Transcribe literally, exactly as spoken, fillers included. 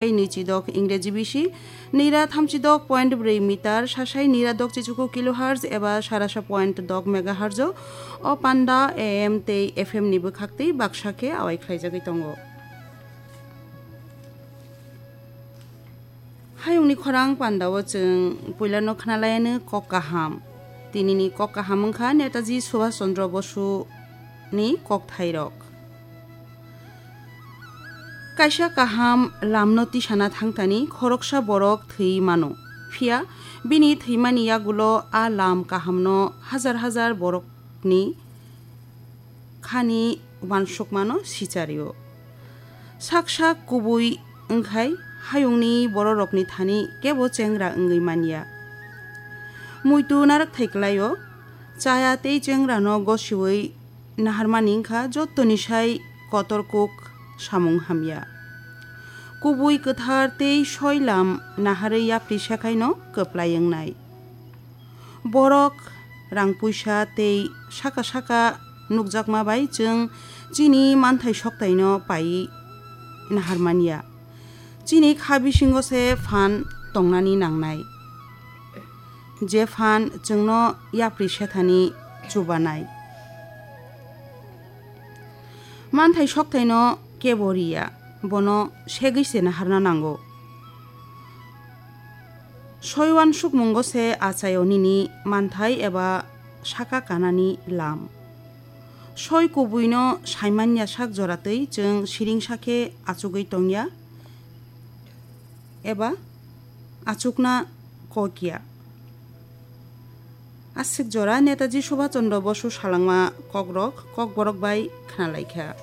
nwichidok Ingreji bisi, nira thamchidok point bwrwi meter, sasai nira dokchichuku kilohertz eba sarasa point dok megahertz o panda A M tei F M ni bwkhaktwi baksa khe awai khlaijagwi tongo. Hayungni khorang pandao chwng puilano khnalayano kok kaham. Tinini kok kaham wngkha Netaji Subhash Chandra Bosu ni kokthairok. Kaisa kaham lamno tisana thangtani khoroksa borok thwi mano. Phiya bini thwimani yagulo a lam kahamno hajar hajar borokni khani uansukmano sichario. Sak sak kubui wngkhai hayungni bororokni thani kebo chengra wngwi manya. Muitu narwkthai kwlaio, chaya tei chengrano gosiwi naharmani wngkha jottoni sai kotor kuk samung hamya. Kubui kwthar tei soi lam naharwi yapri sekhaino kwplai wngnai. Borok, rang puisa tei saka saka nukjakma bai chwng chini manthai soktaino paiwi naharmanya. Chini kha bisingo se phan tongnani nangnai. Je phan chwngno yapri sethani chubanai. Manthai soktaino kebo riya, bono segwi se naharna nango. Soi uansukmungo se achaio nini manthai eba saka kanani lam. Soi kubuino saimanya sak joratwi chwng siringsa khe achugwi tongya eba achukna kokya. Aswk jora Netaji Subhash Chandra Bosu salangma kokrok kokborok bai khnalaikha.